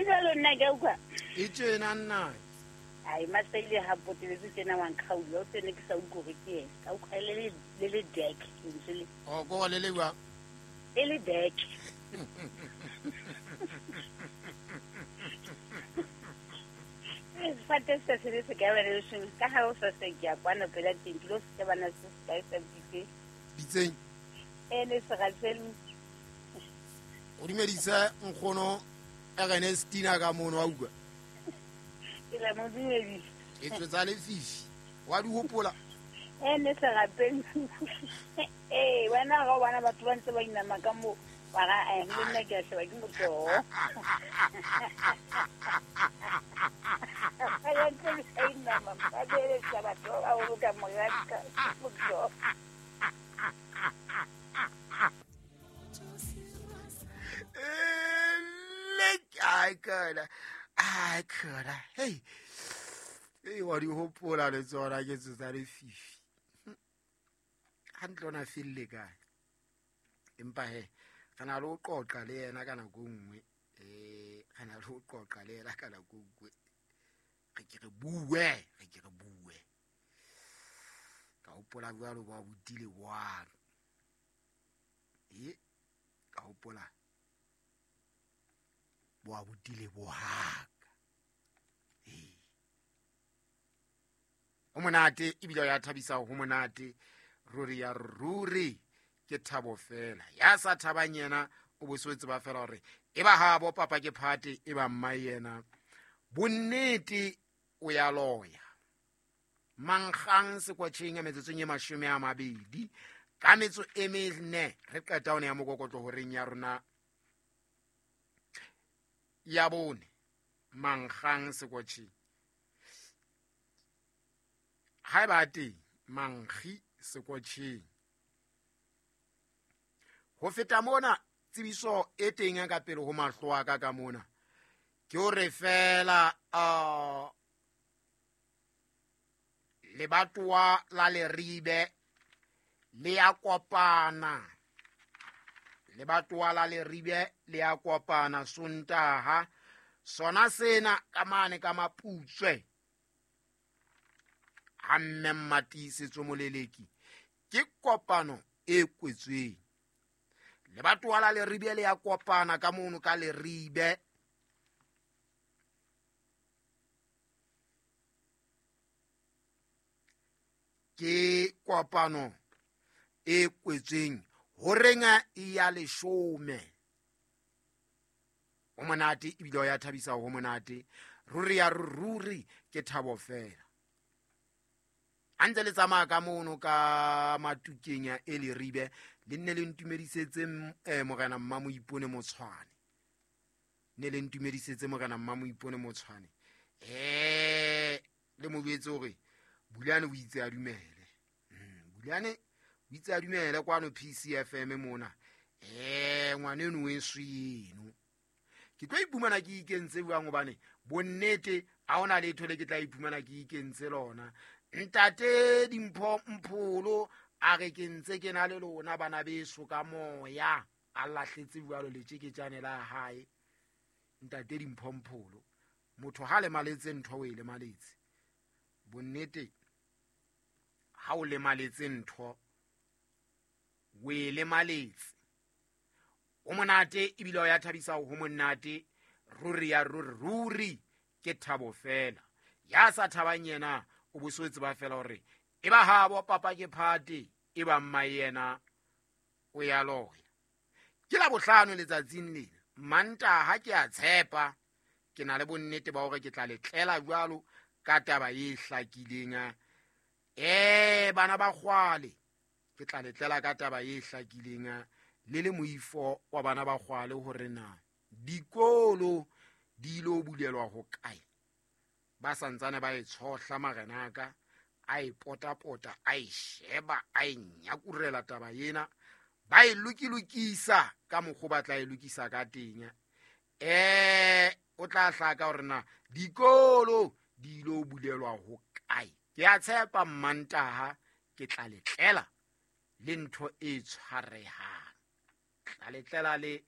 E jalo nna ke a utlwa. E tjena nna. Ai masaile ha poteletse tjena wa nkgaula o tsene ke sa utlwe hore ke ena. Ka utlwa le deck lentswe le. O ko le le jwang? E le deck. Sefate se se le se ka ba le seng ka ha o sa se ke ya kwana pela teng ke lo se bana se se kae sa bitse. Bitseng. E ne se ga tselu. O dumedise nkgono Ernestina ka mono wa utlwa. Ke la mo dumedisa. E tswetsa lefifi. Wa di hopola? E ne se rapeng. Eh, wena ga o bona batho ba ntse ba inama ka mo wa ga eh le nna ke a sheba ke motoho. Ba ntse ba inama ba beletsa batho ba baholo ka moraka ke motoho. Ai khona. Hey. Hey, wa di hopola le tsona ke tsotsa lefifi. Hantle ona felle kae? Empa he, re na le ho qoqa le yena ka nako e nngwe. Re na le ho qoqa le yena ka nako e nngwe. Re ke re bue. Ka hopola jwalo ba botile bwang. Ka hopola bo botile bohaka. Ho monate ebile ya thabisa ho monate. Ruri ya ruri ke thabo fela. Ya sa thabang yena o bo se tseba fela hore e ba habo papa ke phate e ba mma yena. Bonnete o ya loya. Mankgang sekwatjheng ya metsotsong e 20 ka metso e mene re qeta hone ya mokokotlo horeng ya rona ya bone. Mankgang sekwatjheng ha ba teng mankgi sekwatjheng. Ho feta mona tsebiso e teng ka pele ho mahlo a ka ka mona ke hore fela lebatowa la Leribe le ya kopana. Lebatowa la Leribe le ya kopana Sontaha sona sena ka mane ka Maputswe. Ha mme Mmatiisetso Moleleki ke kopano e kwetsweng. Lebatowa la Leribe le ya kopana ka mono ka Leribe. Ke kopano e kwetsweng horeng e ya 10. O monate ebile ya thabisa ho monate. Ruri ya ruri ke thabo fela. A ntse le tsamaya ka mono ka Matukeng ya e Leribe le nne le ntumedisetse morena Mmamoipone Motshwane. Ne le ntumedisetse morena Mmamoipone Motshwane. Le mo jwetse hore Bulane o itse a dumele. Bulane o itse a dumele kwano PCFM mona. Ngwaneno we sweno. Ke tlo iphumana ke ikentse jwang hobane bonnete ha hona letho le ke tla iphumana ke ikentse lona. Ntate Dimpho Mpholo a re ke ntse ke na le lona bana beso ka moya. A lahletse jwalo letjeketjane la hae. Ntate Dimpho Mpholo motho ha lemaletse ntho o e lemaletse. Bonnete ha o lemaletse ntho o e lemaletse. O monate ebile o ya thabisa ho monate. Ruri ya ruri ke thabo fela. Ya sa thabang yena o bo se tseba fela hore e ba habo papa ke phate e ba mma yena o ya loya. Ke la bohlano letsatsing lena. Mantaha ke a tshepa ke na le bonnete ba hore ke tla letlela jwalo ka taba e hlakileng. Bana ba kgwale ke tla letlela ka taba e hlakileng le le moifo wa bana ba kgwale hore na dikolo di ilo bulelwa ho kae. Ba santsane ba e tshohla marenaka a e potapota a e sheba a e nyakurela taba ena ba e lokilokisa ka mokgwa ba tla e lokisa ka teng. O tla hlaka hore na dikolo di ilo bulelwa ho kae. Ke a tshepa Mmantaha ke tla letlela le ntho e tshwarehang. Tla letlela le